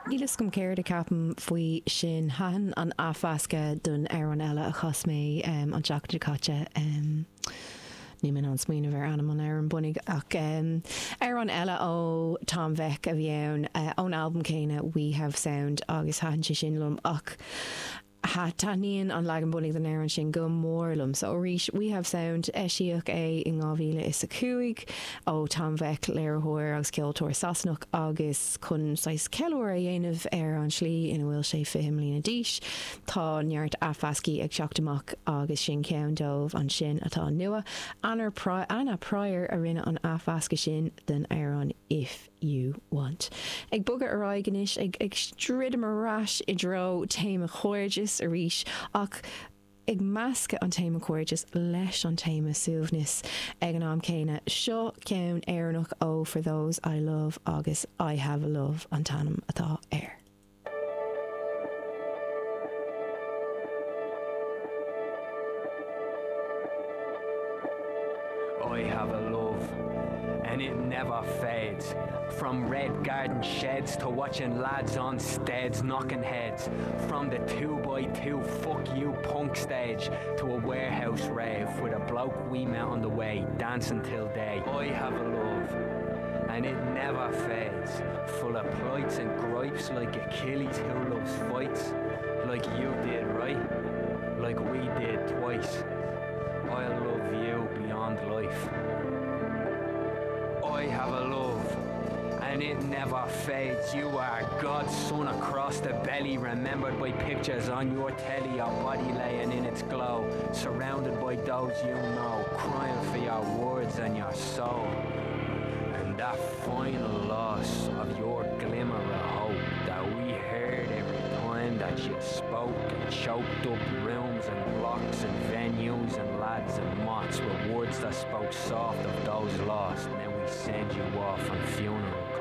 Níl fhios agam céard a ceapaim faoi sin. Thaitin an athmheascadh don amhrán eile a chas mé an tseachtain seo caite. Níl mé in ann smaoineamh ar ainm an amhráin bunaidh ach amhrán eile ó Tom Vek a bhí ann ón albam céanna We Have Sound agus thaitin sé sin liom ach Taitníonn an leagan bunaidh den amhrán sin go mór liom. So arís, We Have Sound, eisíodh é in 2005 ó Tom Vek, léiritheoir agus ceoltóir Sasanach, agus chun saghas ceiliúradh a dhéanamh ar an tslí ina bhfuil sé 20 mbliana d'aois, tá neart athmheascthaí ag teacht amach agus sin ceann dóibh ansin atá nua. Anna Pryor a rinne an athmheascadh sin den amhrán If. You Want. Ag bogadh ar aghaidh anois, ag ag druidim ar ais i dtreo téama chairdis arís, ach ag meascadh an téama cairdis leis an téama suaimhnis ag an am céanna. Seo ceann Éireannach ó For Those I Love agus I Have a Love an t-ainm atá air. I have a love and it never fades From red garden sheds to watching lads on steads knocking heads From the 2x2 fuck you punk stage to a warehouse rave with a bloke we met on the way dancing till day I have a love and it never fades full of plights and gripes like Achilles who loves fights like you did right like we did twice I love you beyond life I have a love and it never fades you are God's son across the belly remembered by pictures on your telly your body laying in its glow surrounded by those you know crying for your words and your soul and that final loss of your glimmer of hope that we heard every time that you spoke and choked up rooms and blocks and venues and lads and mots with words that spoke soft of those lost now we send you off on funeral.